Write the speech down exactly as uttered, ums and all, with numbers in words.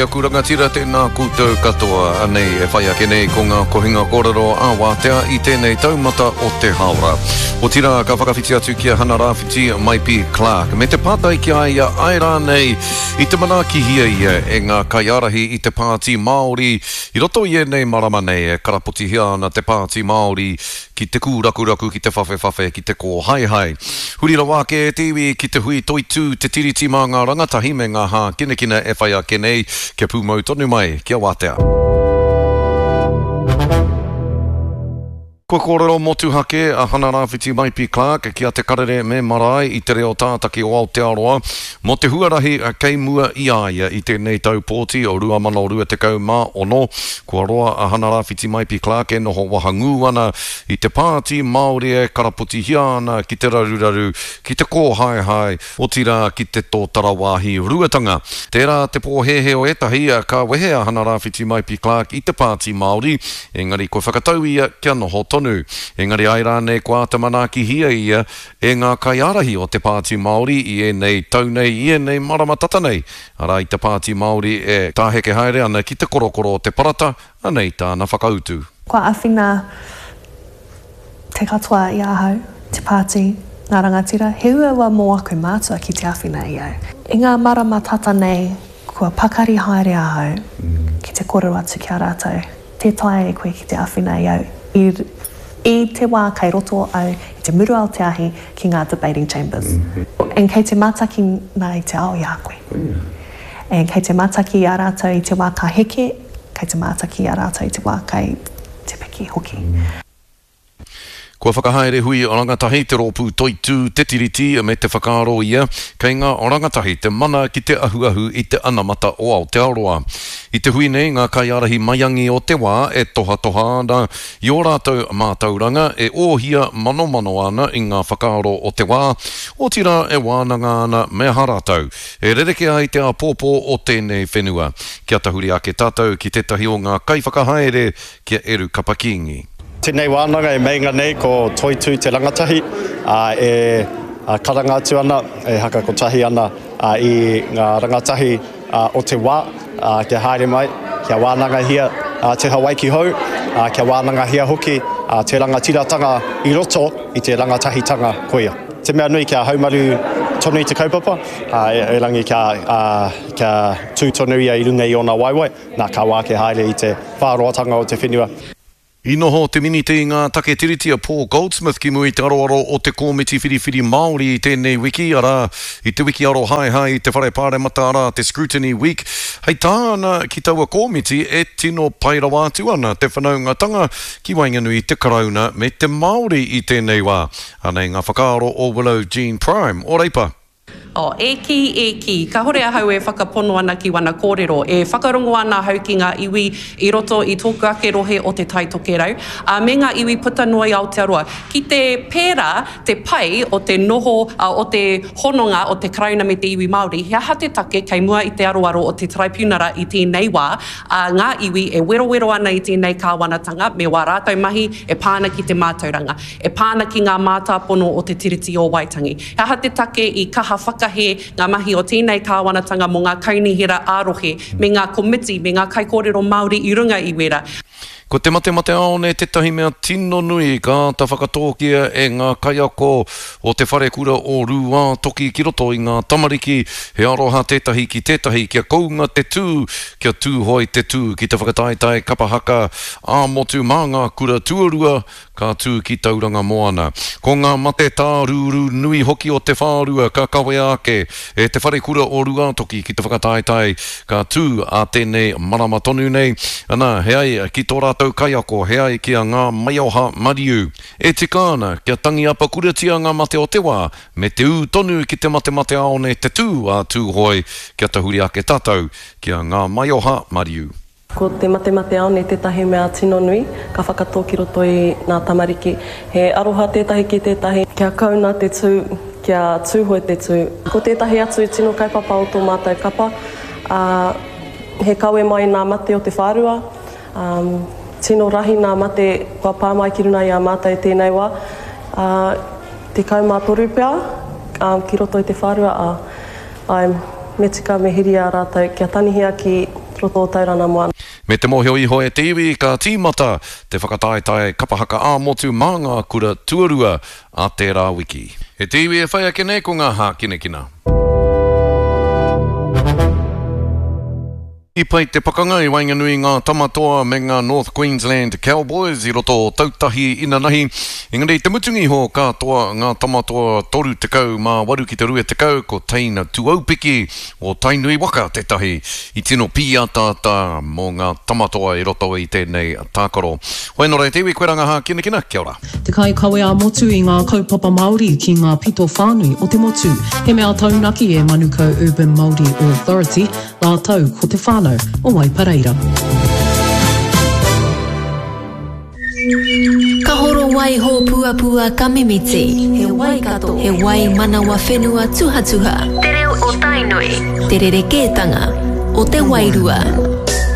E aku rangatira, tēnā koutou katoa. Anei e whai ake nei ko ngā kohinga kōrero a wātea i tēnei taumata o te hāora. Otirā, ka whakawhiti atu ki a Hana Rāwhiti Maipi Clark. Me te pātai ki a ia ai rānei i te manaakihia ia e ngā kaiārahi i te Pāti Māori i roto i ēnei marama nei e karapotihia ana te Pāti Māori ki te kūrakuraku, ki te whawhewhawhe, ki te kōhaehae. Huri rawa ake e te iwi ki te hui toitū te tiriti mā ngā rangatahi me ngā hākinakina e whai ake nei, kia pūmau tonu mai, kia wātea. Kua kōrero motuhake a Hana Rāwhiti Maipi Clark ki a Te Karere me Marae i te reo tātaki o Aotearoa mō te huarahi kei mua i a ia i tēnei tau pōti o rua mano rua tekau mā ono. Kua roa a Hana Rāwhiti Maipi Clark e noho wahangū ana i te pāti Māori e karapotihia ana ki te raruraru, ki te kōhaehae, otirā ki te tōtara wāhi ruatanga. Tērā te pōhēhē o ētahi ka wehe a Hana Rāwhiti Maipi Clark i te pāti Māori, engari kua whakatau ia kia noho tonu. Engari ai rānei kua āta manaakihia ia e ngā kaiārahi o te Pāti Māori i ēnei tau nei, i ēnei marama tata nei. Arā i te Pāti Māori e tāheke haere ana ki te korokoro o te parata, anei tāna whakautu. Kua āwhina te katoa i ahau, te pāti, ngā rangatira, he uaua mō aku mātua ki te āwhina i au. I ngā marama tata nei, kua pakari haere ahau ki te kōrero atu ki a rātou. Tē taea e koe ki te āwhina i au. I, i te wā kei roto au i te muru ao te ahi ki ngā debating chambers. And kei te mātaki nā i te ao i a koe. And kei te mātaki i a rātou i te wā ka heke, kei te mātaki i a rātou i te wā kei te piki hoki. Kua whakahaere hui rangatahi te rōpū toitū te tiriti me te whakaaro ia kei ngā rangatahi te mana ki te ahuahu i te anamata o Aotearoa. I te hui nei ngā kaiārahi maiangi o te wā e tohatoha ana i ō rātou mātauranga e ōhia manomano ana i ngā whakaaro o te wā, otirā e wānanga ana me aha rātou. E rereke ai te āpōpō o tēnei whenua. Kia tahuri ake tātou ki tētahi o ngā kaiwhakahaere ki a Eru Kapa Kīngi. Tēnei wānanga e meinga nei ko Toitū te rangatahi, ā, e karanga atu ana, e hakakotahi ana i ngā rangatahi o te wā, ā, kia haere mai, kia wānangahia te Hawaiki hou, ā, kia wānangahia hoki te rangatiratanga i roto i te rangatahitanga koia. Te mea nui kia haumaru tonu i te kaupapa, ā, erangi kia, ā, kia tū tonu ia i runga i ōna waewae, nā ka wā ke haere i te whāroatanga o te whenua. I noho te minita i ngā take tiriti a Paul Goldsmith ki mua i te aroaro o te Kōmiti Whiriwhiri Māori i tēnei wiki, arā, i te wiki arohaehae i te Whare Pāremata, arā, te Scrutiny Week. Hei tāna ki taua kōmiti e tino pai rawa atu ana te whanaungatanga ki waenganui i te Karauna me te Māori i tēnei wā. Anei ngā whakaaro o Willow Jean Prime o Reipa. Oh, e kī, e kī, kāhore ahau e whakapono ana ki wana kōrero, e whakarongo ana ahau ki ngā iwi i roto i tōku ake rohe o Te Tai Tokerau, ā, me ngā iwi puta noa i Aotearoa. Ki te pērā te pai o te noho, ā, o te hononga o te Karauna me te iwi Māori, he aha te take kei mua i te aroaro o te Taraipiunara i tēnei wā, ā, ngā iwi e werowero ana i tēnei kāwanatanga me wā rātou mahi e pā ana ki te mātauranga, e pā ana ki ngā mātāpono o te Tiriti o Waitangi. He aha te take i kaha whakahē ngā mahi o tēnei kāwanatanga mō ngā kaunihera ā-rohe me ngā komiti me ngā kaikōrero Māori i runga i wērā. Ko te matemateāone tētahi mea tino nui ka āta whakatōkia e ngā kaiako o te wharekura o Rūātoki ki roto i ngā tamariki, he aroha tētahi ki tētahi kia kounga te tū, kia tūhoe te tū ki te whakataetae kapa haka ā-motu mā ngā kura tuarua ka tū ki Tauranga Moana. Ko ngā mate tārūrū nui hoki o te whārua ka kawea ake e te wharekura o Rūātoki ki te whakataetae ka tū ā tēnei marama tonu nei. Ana, he ai ki tō rātou kaiako, he ai ki a Ngā Maioha Mariu. E tika ana kia tangi apakuratia ngā mate o te wā, me te ū tonu ki te matemateāone te tū a Tūhoe, kia tahuri ake tātou ki a Ngā Maioha Mariu. Ko te matemateāone tētahi mea tino nui, ka whakatō ki roto i ngā tamariki. He aroha tētahi ki tētahi, kia kouna te tū, kia tūhoe te tū. Ko tētahi atu tino kaupapa o tō mātou kapa, ā, he kawe mai nā mate o te whārua, ā, tino rahi nā mate kua pā mai ki runga i a mātou tēnei wā, ā, tekau mā toru pea, ā, ki roto i te whārua, ā, ai, me tika me hiri a rātou kia tanihia ki roto o Tauranga Moana. Me te mōhio iho e te iwi, ka tīmata te whakataetae kapa haka ā-motu mā ngā kura tuarua a tērā wiki. E te iwi e whai ake nei ko ngā hākinakina. I pai te pakanga i waenganui i ngā Tamatoa me ngā North Queensland Cowboys i roto o Tautahi inanahi, engari i te mutunga iho ka toa ngā Tamatoa toru tekau mā waru ki te rua tekau, ko Teina Tuaupiki o Tainui waka tētahi i tino pīataata mō ngā Tamatoa i roto i tēnei tākaro. Hoi nō reira te iwi, koe rā ngā hākinakina, kia ora. Te kaikawe ā-motu i ngā kaupapa Māori ki ngā pito whānui o te motu. He mea taunaki e Manukau Urban Māori Authority rātou ko te whānau o Waipareira. Ka horo wai hōpuapua ka mimiti. He Waikato. He wai manawa whenua tuhatuha. Te reo o Tainui. Te rerekētanga o te wairua.